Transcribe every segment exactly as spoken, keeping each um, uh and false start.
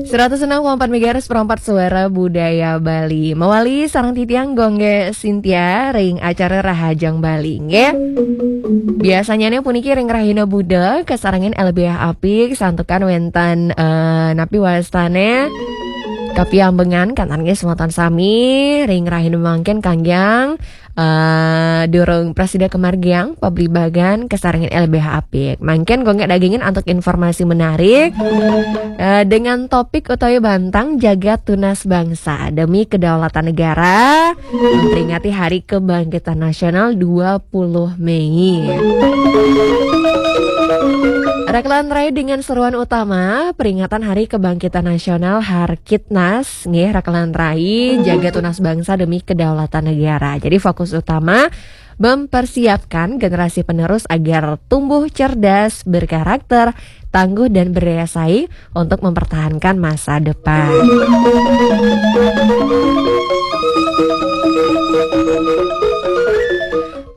Seratus enam koma empat megahertz, perempat suara budaya Bali. Mawali sareng titiang Gung Gé Sintia ring acara Rahajeng Bali, nggih. Biasanya nih puniki ring rahina Buda, kasarengin L B H apik, santukan wénten, eh, napi wastané kapiambengan, kanten nggih semeton sami, ring rahina mangkin kanggéang, eh, durung prasida kamargiang, pablibagan, kasarengin L B H apik. Mangkin Gung Gé dagingin antuk informasi menarik, eh, dengan topik utawi bantang Jagat Tunas Bangsa Demi Kedaulatan Negara, memperingati Hari Kebangkitan Nasional dua puluh Mei. Rakelan rai dengan seruan utama peringatan Hari Kebangkitan Nasional Harkitnas, nggih, rakelan rai, Jagat Tunas Bangsa Demi Kedaulatan Negara. Jadi fokus utama mempersiapkan generasi penerus agar tumbuh cerdas, berkarakter, tangguh dan berdaya saing untuk mempertahankan masa depan.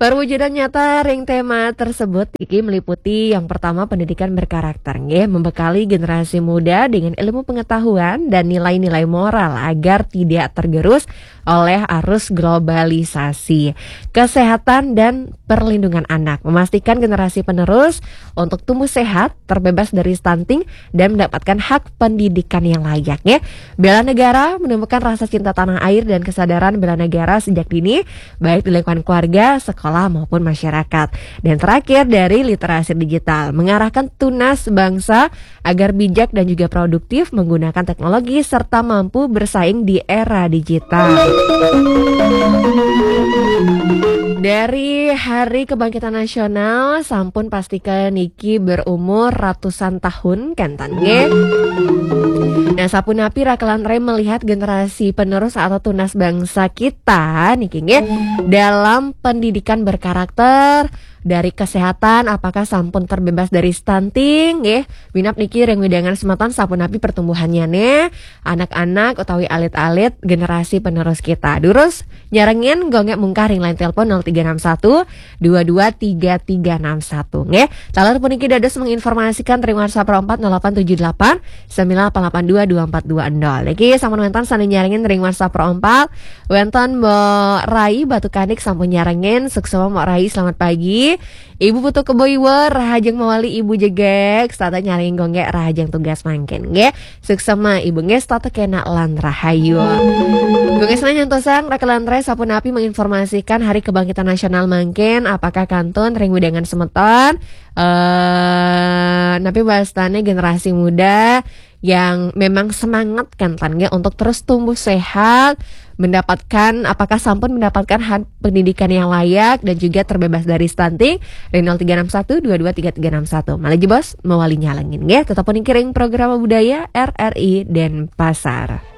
Perwujudan nyata ring tema tersebut iki meliputi yang pertama pendidikan berkarakter, nggih, membekali generasi muda dengan ilmu pengetahuan dan nilai-nilai moral agar tidak tergerus oleh arus globalisasi. Kesehatan dan perlindungan anak, memastikan generasi penerus untuk tumbuh sehat, terbebas dari stunting, dan mendapatkan hak pendidikan yang layak, ya. Bela negara, menumbuhkan rasa cinta tanah air dan kesadaran bela negara sejak dini, baik di lingkungan keluarga, sekolah, maupun masyarakat. Dan terakhir, dari literasi digital, mengarahkan tunas bangsa agar bijak dan juga produktif menggunakan teknologi serta mampu bersaing di era digital. Dari Hari Kebangkitan Nasional, sampun pastika niki berumur ratusan tahun, kanten nggih. Nah, sapunapi rakelan rai melihat generasi penerus atau tunas bangsa kita niki nggih, dalam pendidikan berkarakter, dari kesehatan, apakah sampun terbebas dari stunting, nggih? Minab niki ring wewidangan semeton sapunapi pertumbuhannya nih, anak-anak utawi alit-alit generasi penerus kita. Durus nyarengin Gung Gé mungkah ring line telepon nol tiga enam satu dua dua tiga tiga enam satu, nggih. Taler puniki dados menginformasikan ring WhatsApp empat nol delapan tujuh delapan sembilan delapan delapan dua dua empat dua nol. Niki sampun wénten sané nyarengin ring WhatsApp empat. Wénten Mbok Rai Batu Kanik sampun nyarengin. Suksma Mbok Rai, selamat pagi. Ibu Putu Kebo Iwa, rahajeng mawali Ibu jegég, setata nyarengin Gung Gé, rahajeng tugas mangkin nggih. Suksma Ibu nggih, setata kénak lan rahayu. Gung Gé sané nyantosang, rakelan rai sapunapi menginformasikan Hari Kebangkitan Nasional mangkin, apakah kantun ring wewidangan semeton, eh, napi wastané generasi muda yang memang semangat kanten nggih untuk terus tumbuh sehat, mendapatkan, apakah sampun mendapatkan hak pendidikan yang layak dan juga terbebas dari stunting? Ring nol tiga enam satu dua dua tiga tiga enam satu. Malih jebos mawali nyarengin nggih. Tetep puniki ring Programa Budaya R R I Denpasar.